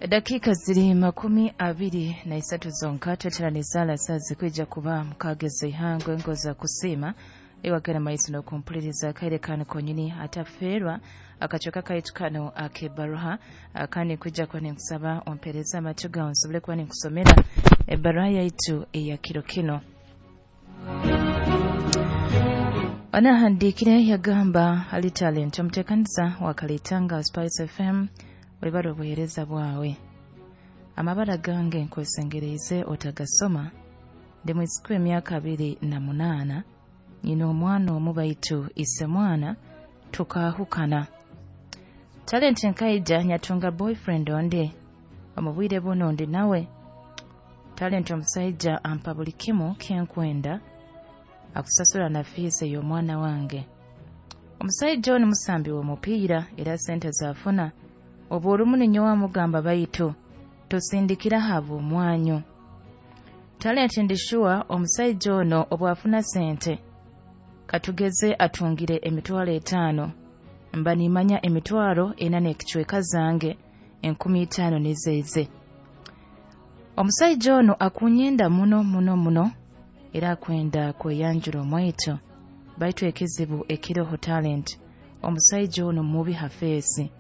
Dakiika ziri 23 zonka tweteraniza saa zikwija kuba mukageza ihangwe engoza kusiima ewagera maiso n'okumpuliriza akaire kano konyini atafeerwa akacweka kaitu kano ak'ebaruha. Kandi nkwija kuba ninkusaba ompereze amatu gawe nsobole kuba ninkusomera ebaruha yaitu eya kiro kino. Anahandiikire yagamba ali Talent, omuteekaniza wa Kalitanga Spice FM, webale obuheereza bwawe. Amabara gange nkwesengereize otagasoma. Ndi mwisuku emyaka 28, nyina omwana omu baitu ise mwana tukahukana. Talent, nkaija nyatunga boyfriend onde omu bwire buno ndi nawe. Talent, omusaija ampa buli kimu kyenkwenda, akusasura na fiisi ey'omwana wange. Omusaija onu musambi w'omupiira era sente zaafuna obu olumu ninyowe amugamba, baitu tosindikira haba omwanyu. Talent, ndi sure omusaija ono obwafuna sente, katugeze atungire 500,000, mba nimanya 4,000 n'ekicweka zange, 5,000 nizeze. Omusaija ono akunyenda muno muno muno era akwenda kweyanjura omwaitu, baitu ekizibu ekiroho Talent, omusaija ono mubi ha feesi.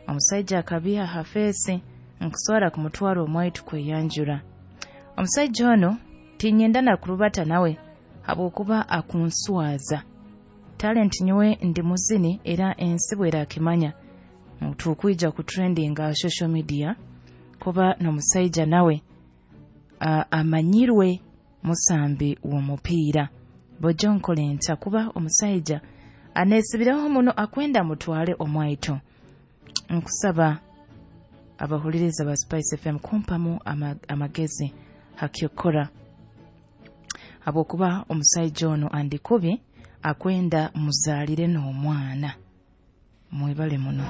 Omusaija akabiha ha feesi, nkusobora kumutwara omwaitu kweyanjura. Omusaija ono tinyenda na kurubata nawe habwokuba akunswaza. Talent, nyowe ndi muzini era ensi bwerakimanya tukwija ku trending aha social media kuba n'omusaija nawe amanyirwe musambi w'omupiira. Bojo nkole nta kuba omusaija aneesibireho muno akwenda mutwale omwaitu? Nkusaba abahuliriza ba Spice FM kumpamu amagezi hakyokora, habwokuba omusaija ono andikubi akwenda muzaalire n'omwana. Mwebale muno.